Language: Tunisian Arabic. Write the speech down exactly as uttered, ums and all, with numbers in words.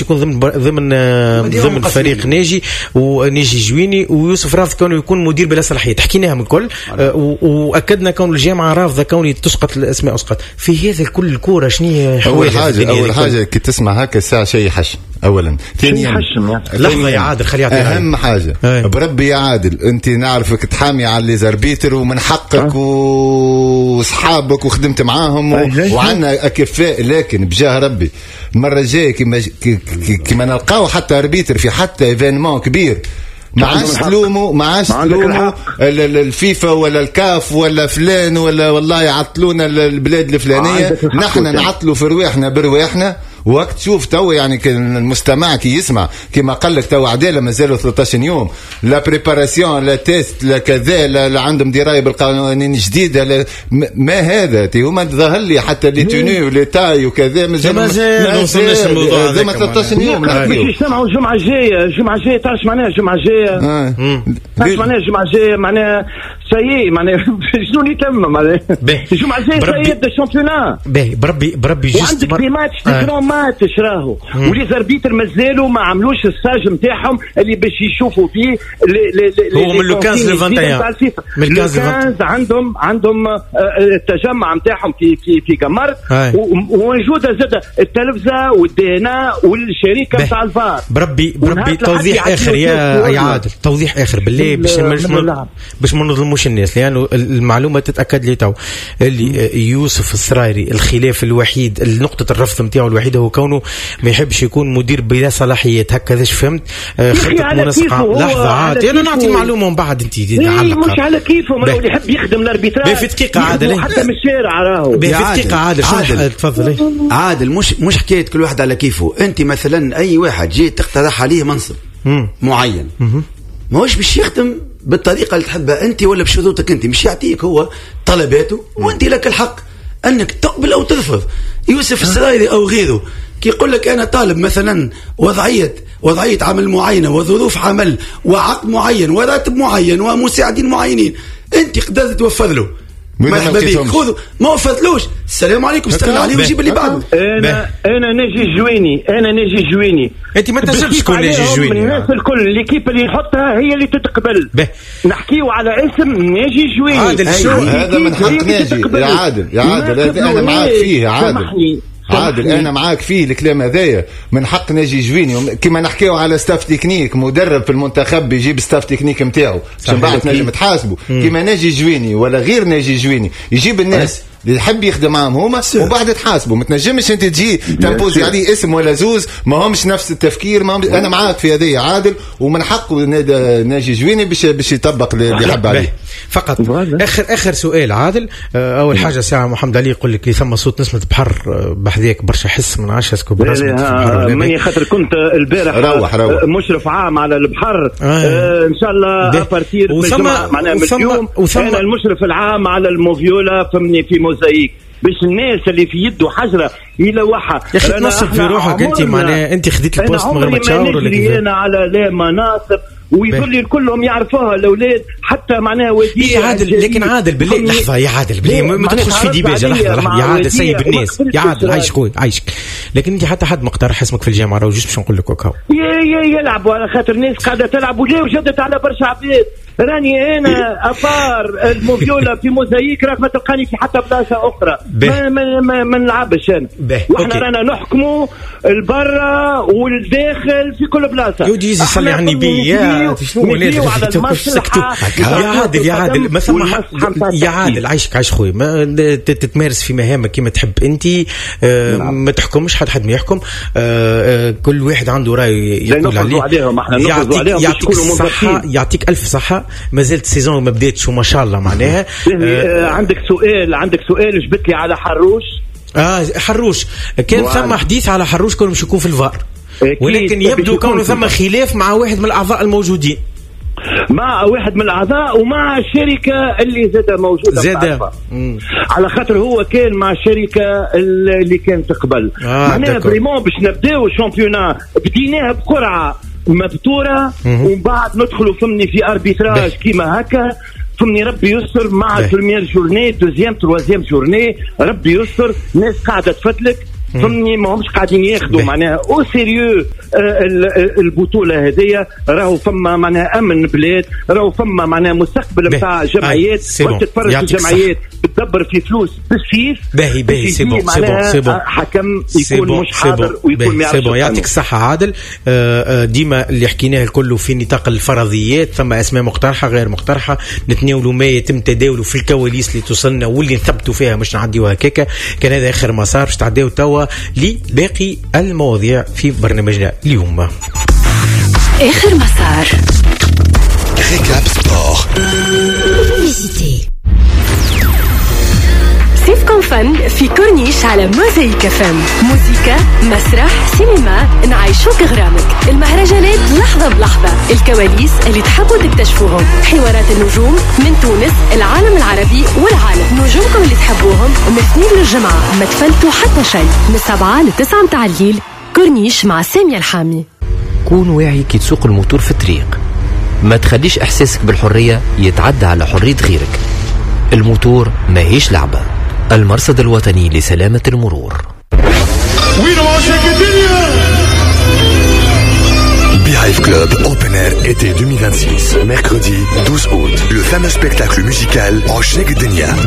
يكون ضمن ضمن ضمن فريق ناجي وناجي جويني، ويوسف رافض كونه يكون مدير بلا صلاحية، حكيناها من الكل، واكدنا كون الجامعة رافضه كوني تسقط الاسماء اسقط في هذا الكل. الكورة شنو اول حاجة؟ اول حاجة كي تسمع هكا الساعة شيء يحشم اولا، ثانيا لحظة يا عادل خليه يعطي اهم حاجة. هاي. بربي يا عادل انت نعرفك تحامي على les arbitres ومن حقك وصحابك وخدمت معاهم و... وعندنا اكفاء، لكن بجاه ربي المرة الجاية كيما كيما نلقاو حتى arbitre في حتى événement كبير ما عادش تلوموا، ما عادش تلوموا الفيفا ولا الكاف ولا فلان ولا والله يعطلونا البلاد الفلانية، نحن نعطلوا في رواحنا برواحنا. وقت تشوف تو يعني المستمع كي يسمع كما قال لك تو عدالة مازالوا ثلاثة عشر يوم، لا préparation لا test لا كذا، لا, لا عندهم دراية بالقوانين الجديدة، لا ما هذا تي هما ظهر لي حتى les tenues و les tailles وكذا مازال ما وصلناش الموضوع هذا. ثلاثة عشر يوم باش يجتمعوا الجمعة الجاية، الجمعة الجاية تعرف معناها الجمعة الجاية، تعرف معناها الجمعة الجاية معناها ça y est معناها شنو اللي تم معناها الجمعة الجاية ça y est يبدا ال championnat. باهي بربي بربي juste وعندك des matchs des grands matchs راهو و les arbitres مازالوا ما عملوش ال stage نتاعهم اللي باش يشوفوا فيه هو من le خمسة عشر ل واحد وعشرين، من خمسة عشر عندهم عندهم التجمع نتاعهم في في في قمرت، وموجودة زاد التلفزة والدينا والشركة نتاع الفار. بربي بربي توضيح اخر يا يا عادل، توضيح اخر بالله باش باش ما نظلموش الناس، لانه المعلومة تتاكد لي تو اللي يوسف السرايري الخلاف الوحيد نقطة الرفض نتاعو الوحيدة هو كونه ما يحبش يكون مدير بلا صلاحيات، هكذا فهمت؟ خطه منسقة. لحظة عاد انا نعطي المعلومة ومن بعد انت تعلق. مش على كيفه، ما اللي يحب يخدم ال arbitrage في دقيقة عادل، حتى من الشارع راهو في دقيقة عادل. عادل تفضل. عادل مش مش حكاية كل واحد على كيفه، انت مثلا اي واحد جيت تقترح عليه منصب معين ماهوش باش يخدم بالطريقة اللي تحبها انت ولا بشروطك انت، مش يعطيك هو طلباته وانت لك الحق انك تقبل او ترفض. يوسف السرايري او غيره كي يقول لك انا طالب مثلا وضعية وضعية عمل معينة وظروف عمل وعقد معين وراتب معين ومساعدين معينين، انت قدرت توفر له مرحبا بك، خذوا، ما وفرتلوش السلام عليكم، استنى عليه وجيب اللي بعده. انا انا ناجي جويني، انا ناجي جويني، انت ما تنجمش تكون ناجي جويني. الناس الكل l'équipe اللي يحطها هي اللي تتقبل. نحكيو على اسم ناجي جويني. عادل شو هذا من حق ناجي يا عادل، يا عادل انا معاك فيه يا عادل، عادل انا معاك فيه الكلام هذايا، من حق ناجي جويني. كما نحكيو على staff technique، مدرب في المنتخب يجيب staff technique نتاعو باش بعد تنجم تحاسبه. كما ناجي جويني ولا غير ناجي جويني يجيب الناس اللي يحب يخدم معاهم هما وبعد تحاسبه. ما تنجمش انت تجي تمبوزي عليه اسم ولا زوز ما همش نفس التفكير. ما هم... انا معاك في هذه عادل، ومن حقه ناجي جويني باش باش يطبق اللي يحب عليه. فقط اخر اخر سؤال عادل. اول حاجة ساعة محمد علي يقول لك ثم صوت نسمه بحر بحذاك برشا حس من عشرة est-ce que برسمي ماني خاطر كنت البارح روح روح مشرف عام على البحر. آه. آه ان شاء الله à partir معناها من اليوم انا المشرف العام على الموفيولا فهمني في موزايك، باش الناس اللي في يده حجره يلوحها. يا اخي تنصب في روحك انت، معناها انت خديت ال poste من غير ما تشاور ولا كيف؟ انا على لا مناصب ويظل كلهم يعرفوها الاولاد حتى معناها وديع يا عادل. لكن عادل بالله لحظة يا عادل بالله ما تدخلش في ديباجه. لحظة لحظة يا عادل سيب الناس يا عادل، عايش خويا عايشك. لكن انت حتى حد ما اقترح اسمك في الجامعة راهو juste باش نقول لك وكاو يا يلعبوا على خاطر الناس قاعدة تلعب وجا وجدت على برشا عباد. راني انا à part الموفيولا في موزايك راك ما تلقاني في حتى بلاصة اخرى، ما ما, ما, ما نلعبش انا. واحنا رانا نحكموا البرة والداخل في كل بلاصة. يودي يصلي على النبي يا شنو يا عادل، يا عادل ما ثم يا عادل عايشك عايش خويا، ما تتمارس في مهامك كما تحب انت، ما تحكمش حد حد ما يحكم، كل واحد عنده راي يقول عليه. يعطيك يعطيك الصحة، يعطيك الف صحة. ما زالت ال saison ما بداتش وما شاء الله معناها. آه عندك سؤال، عندك سؤال جبت لي على حروش. اه حروش كان ثم حديث على حروش كانوا مش يكون في الفار، ولكن يبدو كونه ثم خلاف مع واحد من الاعضاء الموجودين، مع واحد من الاعضاء ومع الشركة اللي زاد موجودة زاد على خاطر هو كان مع الشركة اللي كانت قبل. آه معناها vraiment باش نبداو ال championnat بديناها بقرعه مبتوره ومن بعد ندخلوا فمني في arbitrage كيما هكا فمني. ربي يستر مع ال première journée deuxième troisième journée ربي يستر. ناس قاعدة تفتلك فهمني، ما همش قاعدين ياخذوا معناها au sérieux البطولة هذيا. راهو فما معناها امن بلاد، راهو فما معناها مستقبل نتاع جمعيات، وتتفرج في الجمعيات بتدبر في فلوس بالسيف. باهي باهي، c'est bon c'est bon c'est bon. حكم يكون مش حاضر ويكون ما يعرفش. c'est bon، يعطيك الصحة عادل. آه، ديما اللي حكيناه الكل في نطاق الفرضيات، ثم اسماء مقترحه غير مقترحه، نتناولوا ما يتم تداوله في الكواليس اللي توصلنا واللي نثبتوا فيها، مش نعديوها هكاكا. كان هذا اخر مسار، باش تعديو توا لباقي المواضيع في برنامجنا اليوم. اخر مسار. Récap sport. Publicité. صيفكم فن في كورنيش على موزايك فم. موزيكا، مسرح، سينما، نعيشوك غرامك. المهرجانات لحظة بلحظة، الكواليس اللي تحبوا تكتشفوهم، حوارات النجوم من تونس، العالم العربي والعالم، نجومكم اللي تحبوهم من اثنين للجمعة، ما تفلتوا حتى شيء، من سبعة لتسعة متاع الليل، كورنيش مع سامية الحامي. كون واعي كي تسوق الموتور في الطريق، ما تخليش إحساسك بالحرية يتعدى على حرية غيرك. الموتور ماهيش لعبة. المرصد الوطني لسلامة المرور. وين عشاق الدنيا؟ Beehive Club Open Air été deux mille vingt-six, mercredi douze août. Le fameux spectacle musical عشاق الدنيا de